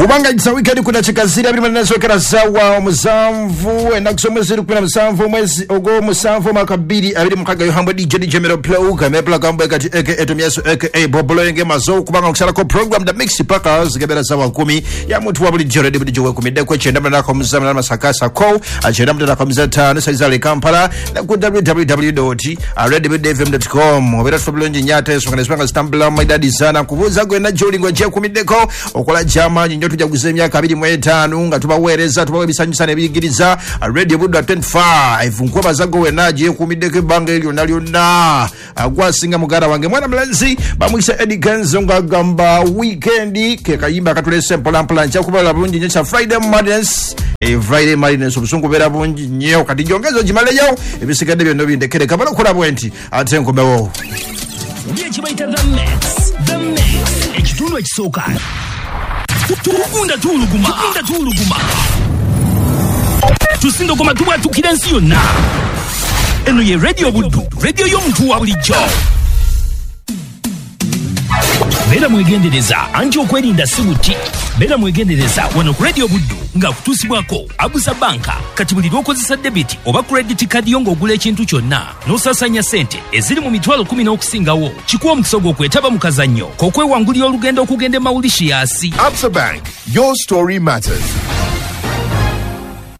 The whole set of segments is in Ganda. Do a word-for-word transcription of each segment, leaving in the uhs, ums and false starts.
Kubanga it's a weekend kuna chikazira biri manazokera sawa omusanvu ennaku z'omwezi kumi na musanvu omwezi ogw'omusanvu mwaka bbiri abiri mukaaga. Yohambwe D J D J Mero Plug Mepla Gambo kati aka Etomyaso aka Bobolo Mazo, kubanga okusalako program The Mix paka zigebera sawa kumi ya muntu wa bulijjo ready bulijjo wekumiddeko kyenda munana musanvu na masakasa ko kyenda munana musanvu ttaano saizale Kampala na ku w w w dot red f m dot com. Obeera tufa bulungi nnyo ate ensonga nesonga zitambula maidadi sana kubuuza gwe najjo olingo gyekumiddeko okola gy'amaanyi nnyo. Tujaguza emyaka abiri mu etaano nga tubaweereza, tubawa ebisanyusa n'ebiyigiriza. Radio Buddu twenty-five nkwebaza gwe wenna gyekumiddeko ebbanga eryo lyonna lyonna. Gwasinga muganda wange mwana mulenzi bamuyise Eddie Kenzo ng'agamba weekend ke kayimba akatulese mpolampola. Nja kubala bulungi nnyo kya Friday Madness. E Friday Madness obusungu bubeera bungi nnyo, kati gyongeza ogimaleyo ebisigadde byonna bindekere kabala okukola bwe nti ate nkomewo. Ekibayita The Mix, The Mix, ekitundu ekisooka. Tugunda tuwuluguma, tugunda tuwuluguma, tusindogoma tubwatukira ensi yonna. Eno ye Radio Buddu, radio y'omuntu wa bulijjo. Beera mwegendereza anti okwerinda si buti. Beera mwegendereza wano ku Radio Buddu nga kutuusibwako Abusa Banka. Kati buli lw'okozesa debit oba credit card yo ng'ogula ekintu kyonna n'osaasanya ssente eziri mu mitwalo kumi n'okusingawo, kikuwa omukisa gw'okwetaba mu kazannyo k'okwewangulira olugendo okugenda e Mauritius. Absa Bank, your story matters.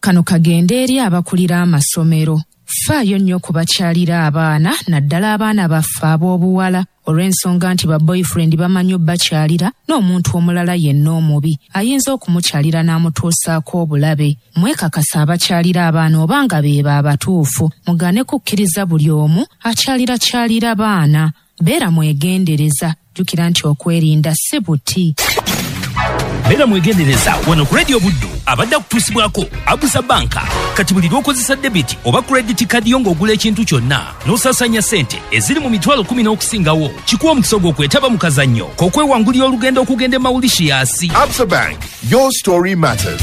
Kano kagende eri abakulira amasomero. Faayo nnyo okubakyalira abaana, naddala abaana baffe ab'obuwala, olw'ensonga nti ba boyfriend bamanyi obbakyalira n'omuntu omulala yenna omubi ayinza okumukyalira n'amutuusaako obulabe. Mwekakasa abakyalira abaana oba nga beebo abatuufu, mugane kukkiriza buli omu akyalirakyalira baana. Beera mwegendereza, jjukira nti okwerinda si buti. Beera mwegendereza wano ku Radio Buddu abadde akutuusibwako Abusa Banka. Kati buli lw'okozesa debit oba credit card yo ng'ogula ekintu kyonna n'osaasanya ssente eziri mu mitwalo kumi n'okusingawo, kikuwa omukisa gw'okwetaba mu kazannyo k'okwewangulira olugendo okugenda e Mauritius. Absa Bank, your story matters.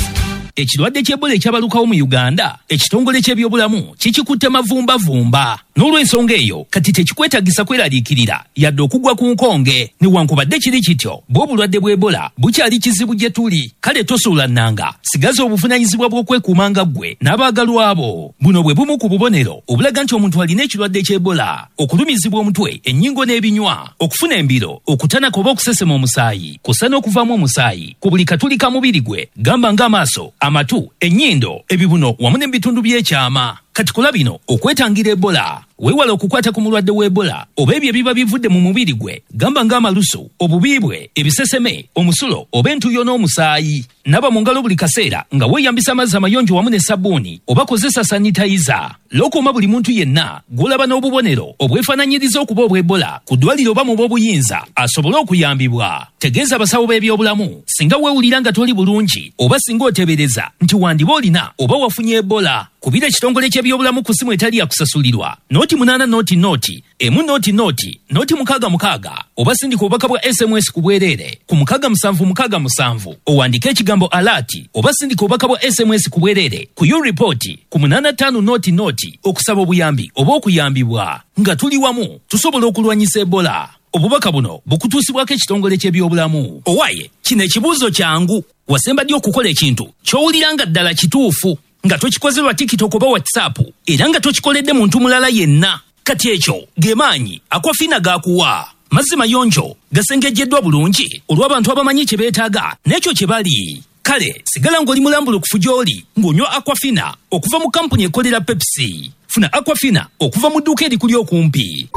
Ekirwadde ky'Ebola ekyabalukawo mu Uganda, ekitongole ky'ebyobulamu kikikutte mavumbavumba. N'olw'ensonga eyo kati tekikwetagisa kweraliikirira yadde okugwa ku nkonge. Newankubadde kiri kityo, bw'obulwadde bw'Ebola bukyali kizibu gye tuli. Kale tosuula nnanga, sigaza obuvunaanyizibwa bw'okwekuuma nga ggwe n'abaagalwa abo. Buno bwe bumu ku bubonero obulaga nti omuntu alina ekirwadde ky'Ebola: okulumizibwa omutwe, ennyingo n'ebinywa, okufuna embiro, okutanaka oba okusesema omusaayi, kussa n'okuvaamu omusaayi ku buli katuli ka mubiri gwe, gamba ng'amaaso, amatu, ennyindo, ebibuno wamu n'ebitundu by'ekyama. Kati kola bino okwetangira Ebola. Weewale okukwata ku mulwadde w'Ebola oba ebyo ebiba bivudde mu mubiri gwe, gamba ng'amalusu, obubi bwe, ebiseseme, omusulo oba entuuyo n'omusaayi. Naba mu ngalo buli kaseera nga weeyambisa amazzi amayonjo wamu ne sabbuuni oba kozesa sanitayiza. Lookooma buli muntu yenna gw'olaba n'obubonero obwefaananyiriza okuba obw'Ebola ku ddwaliro oba mu b'obuyinza asobole okuyambibwa. Tegeeza abasawo b'ebyobulamu singa weewulira nga toli bulungi oba singa oteebereza nti wandiba olina oba wafunye Ebola. Kubira ekitongole ky'ebyobulamu ku ssimu etali yakusasulirwa noti munaana noti noti emu noti noti noti mukaaga mukaaga oba sindika obubaka bwa S M S ku bwereere ku mukaaga musanvu mukaaga musanvu owandiike ekigambo alert oba sindika obubaka bwa S M S ku bwereere ku U-report ku munaana ttaano noti noti okusaba obuyambi oba okuyambibwa. Nga tuli wamu tusobola okulwanyisa Ebola. Obubaka buno bukutuusibwako ekitongole ky'ebyobulamu. Owaye kino ekibuuzo kyangu, wasemba ddi okukola ekintu ky'owulira nga ddala kituufu nga tokikoze lwa TikTok oba WhatsApp era nga tokikoledde muntu mulala yenna? Kati ekyo ge maanyi Aquafina gakuwa. Mazzi mayonjo gasengejjeddwa bulungi olw'abantu abamanyi kye beetaaga n'ekyo kye bali. Kale sigala ng'oli mulambulukufu gy'oli ng'onywa Aquafina okuva mu kampuni ekolera Pepsi. Funa Aquafina okuva mu dduuka erikuli okumpi.